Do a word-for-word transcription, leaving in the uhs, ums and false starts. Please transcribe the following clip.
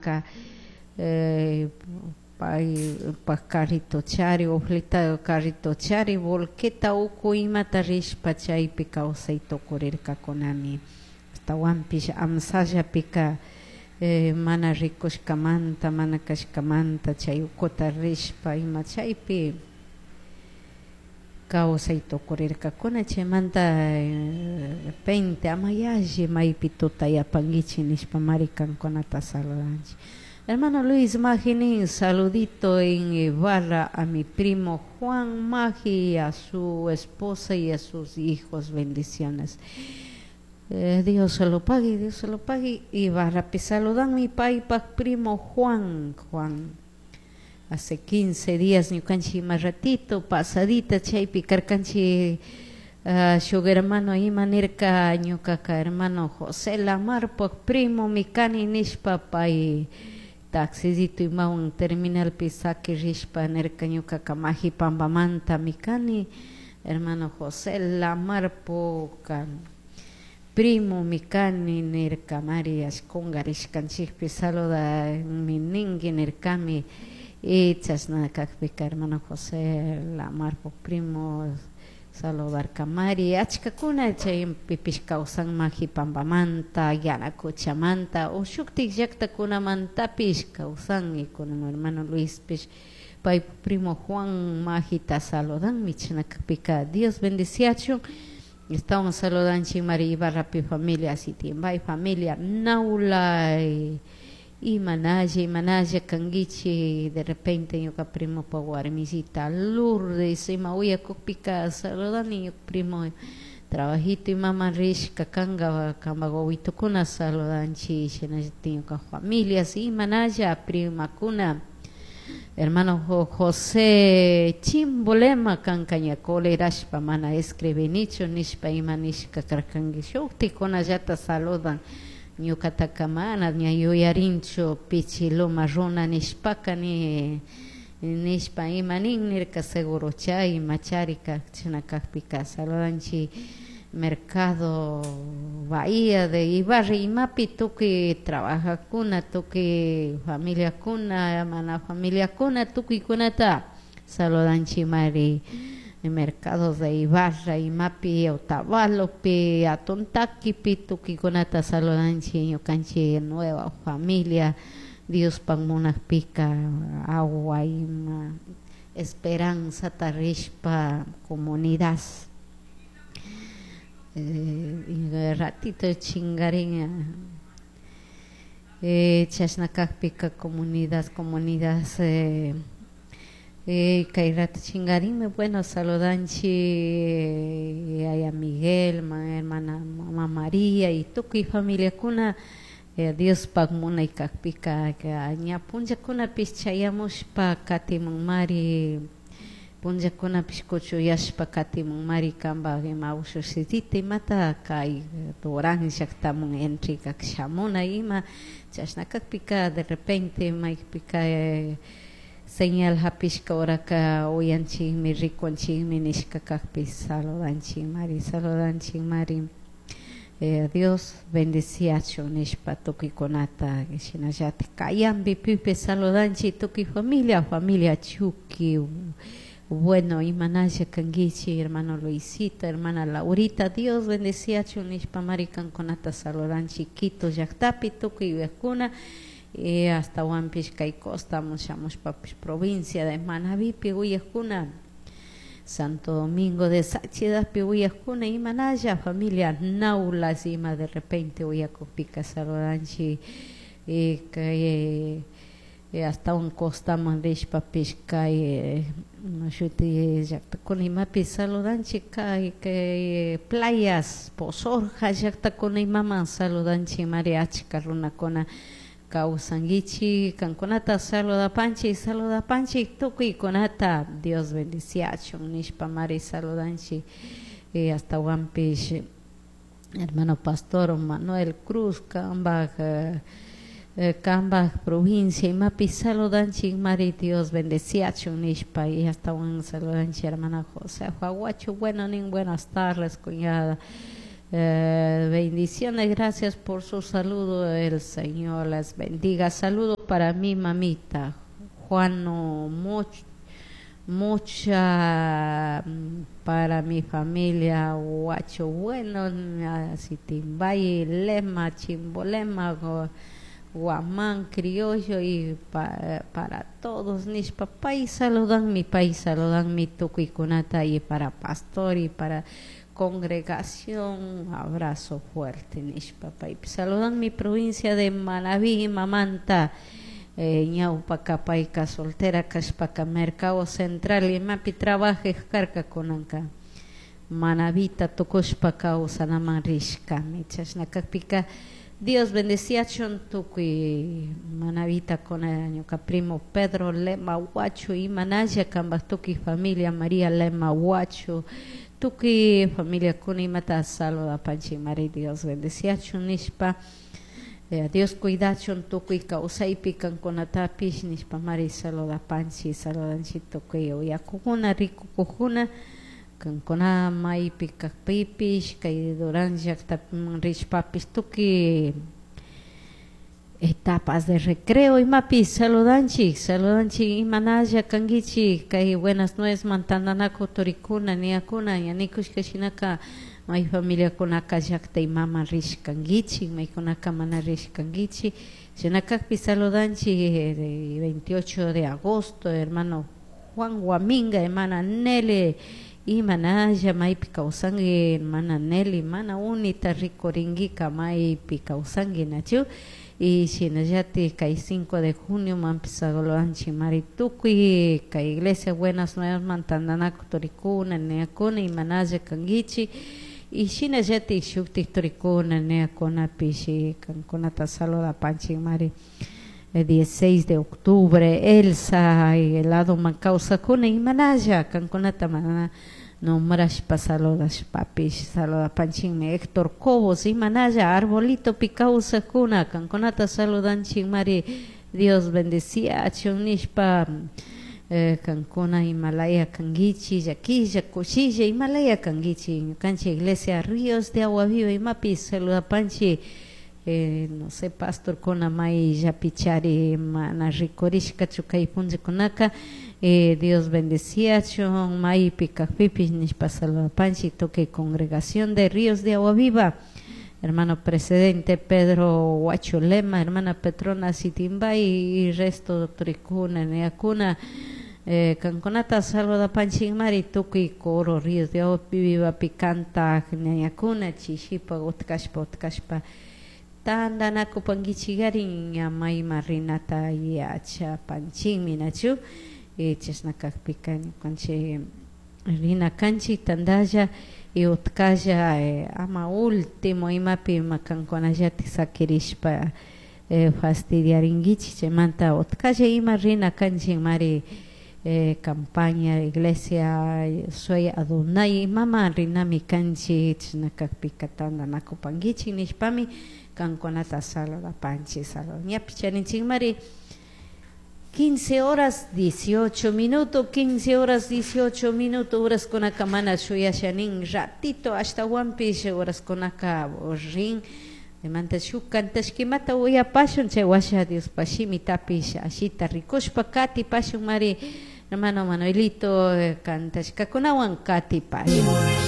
Rirka eh, paypak carrito chari oflita carrito chari volqueta uku imata rishpa chaypi kawsay tukurirkakunami ashtawanpish amsallapika eh, mana rikushkamanta mana kashkamanta chay ukuta rishpa ima chaypi kawsay tukurirkakuna chaymanta de repente ama yalli maypi tutayapankichik nishpa mari kankunata saludanchik. Hermano Luis Maginin, saludito en Ibarra a mi primo Juan Magi y a su esposa y a sus hijos, bendiciones. Eh, Dios se lo pague, Dios se lo pague. Ibarrapi saludan mi paypak primo Juan, Juan. Hace quince días ñukanchik ima ratito pasadita chaypi karkanchik uh, shuk hermano ima nirka ñukaka hermano José Lamarpak primo mi kani nishpa pay taxisito imawan terminalpi saki rishpa nirka ñukaka Majipambamanta mi kani hermano José Lamarpoka primo mi kani nirka mari kungarishkanchikpi saludami ninki nirkami y chashna kakpika hermano José Lamarpo primo saludarkamari achkakuna chaypipish kawsan Majipambamanta Yanacuchamanta o shuktik llaktakunamantapish kawsan y kunan hermano Luispish pay primo Juan Majita saludanmi chashna kakpika Dios bendiciachun. Estamos saludanchik mari Ibarrapi familia Sitimbay familia Naula imanalla imanalla kankichik de repente ñuka primopa warmisita Lourdes ima uyakukpika saludani ñuka primo trabajito imama rishka kanka kanpak wawitukuna saludanchik shinallatik ñuka familias imanalla primakuna hermano José Chimbolema kanka ña colerashpa mana escribinichu nishpa ima nishka karkanki shuktikunallata saludan ñukataka mana ña yuyarinchu pichiluma runa nishpaka ni nishpa ima nin nirka seguro chay imachari chashna kakpika saludanchik mercado Bahía de Ibarra imapi tukuy trabajakuna tukuy familiakuna mana familiakuna tukuykunata saludanchik mari mercados de Ibarra imapi Otavalopi Atontaquipi tukuykunata saludanchik ñukanchik nueva familia Diospak munakpika agua ima esperanzata rishpa comunidad eh, ratito chingarin eh, chashna kakpika comunidad comunidad eh, eh, kay rato chingarinmi bueno saludanchik yaya Miguel ma hermana mama María y tukuy familiakuna eh, Diospak munay kakpika ña punllakunapish chayamushpa katimunmari punllakunapish kuchuyashpa katimunmari kanpak ima ushusitita imata kay Durán llaktamun entregak shamuna ima chashna kakpika de repente maypika eh, señal hapishka horaka uyanchikmi rikunchikmi nishka kakpi saludanchik mari saludanchik mari eh, Dios bendiciachun nishpa tukuykunata shinallatik kayambi pipi saludanchik tukuy familia familia Chuki bueno imanalla kankichik hermano Luisito hermana Laurita Dios bendiciachun nishpa mari kankunata saludanchik Quito llaktapi tukuy yuyakuna eh, hasta kay costamun shamushpapish provincia de Manabipi uyakuna Santo Domingo de Sáchidapi uyakuna imanalla familia Naulas ima de repente uyakukpika saludanchik eh, kay eh, hasta un costaman rishpapish kay eh, shuti llaktakuna imapi saludanchik kay kay playas Posorja llaktakuna imaman saludanchik mari achka runakuna kawsankichik kankunata saludapanchik saludapanchik tukuykunata Dios bendiciachun nishpa mari saludanchik eh, hasta hermano pastor Manuel Cruz kanpak eh, kanpak provincia imapi saludanchik mari Dios bendeciachun nishpa y hasta saludanchik hermana Josefa Huacho bueno nin buenas tardes cuñada Eh, bendiciones, gracias por su saludo. El Señor las bendiga. Saludo para mi mamita, Juano, mucho, mucha mm, para mi familia, Huacho Bueno, Sitimbayi, Lema, Chimbolema, Guamán, Criollo y pa, para todos nishpa pay saludan mi pay saludan mi tukuykunata y para pastor y para congregación abrazo fuerte nishpa pay saludan mi provincia de Manabí mamanta eh, ñawpaka payka soltera kashpaka mercado central imapi trabajej karka kunanka Manabita tukushpa kawsanaman rishkami chashna kakpika Dios bendeciachun tukuy Manabita kuna ñuka primo Pedro Lema Huacho imanalla kambaj tukuy familia María Lema Huacho tukuy familia kuna imata saludapanchik mari Dios bendeciachun nishpa eh, Dios cuidachun tukuy kawsaypi kankunatapish nishpa mari saludapanchik saludanchik tukuy uyakukuna rikukukuna kankuna maypi kakpipish kay Durán llaktapiman rishpapish tukuy etapas de recreo imapi saludanchik saludanchik imanalla kankichik kay buenas nuevas tantanakuy turikuna niyakuna ña nikushka shinaka may familiakunaka llakta imaman rishkankichik maykunaka mana rishkankichik shina kakpi saludanchik eh, veintiocho de agosto hermano Juan Guaminga hermana Nelly imanalla maypi kawsanki hermana Nelly mana unita rikurinkika maypi kawsanki nachu y shinallatik kay cinco de junio manpish saludanchik mari tukuy kay iglesia buenas nuevas man tantanakuy turikuna niyakuna imanalla kankichik y shinallatik shuktik turikuna niyakunapish kankunata saludapanchik mari dieciséis de octubre Elsa y el lado man kawsakuna imanalla kankunata mana nombrashpa saludashpapish saludapanchikmi Héctor Cobos imanalla arbolitopi kawsakuna kankunata saludanchik mari Dios bendeciachun nishpa eh, kankuna imalaya kankichik llakilla kushilla imalaya kankichik ñukanchik iglesia Ríos de Agua Viva imapi saludapanchik eh, no sé pastorkuna mayllapichari mana rikurishkachu kay punllakunaka eh, Dios bendeciachun maypi kakpipish nishpa saludapanchik tukuy congregación de Ríos de Agua Viva hermano presidente Pedro Huacho Lema, hermana Petrona Sitimbay y resto turikuna niyakuna eh, kankunata saludapanchik mari tukuy coro Ríos de Agua Viva kantak ñañakuna chishipa utkashpa utkashpa tantanakupankichikarin ña mayman rinata yachapanchikmi nachu eh, chashna kakpika ñukanchik rina kanchik tantalla y utkalla eh, ama último imapi ima kankunallatik sakirishpa eh, fastidiarinkichik chaymanta utkalla ima rina kanchik mari eh, campaña iglesia Soy Adonai imaman rinami kanchik chashna kakpika tantanakupankichik nishpami kankunata saludapanchik salud ñapish charinchik mari quince horas dieciocho minutos, quince horas dieciocho minutos, horaskunaka mana shuyashanin ratito ashtawanpish horaskunaka rin chaymanta shuk kantashkimata uyapashun chay washa Diospaj shimitapish ashita rikushpa katipashun mari hermano Manuelito kantashkakunawan katipashun.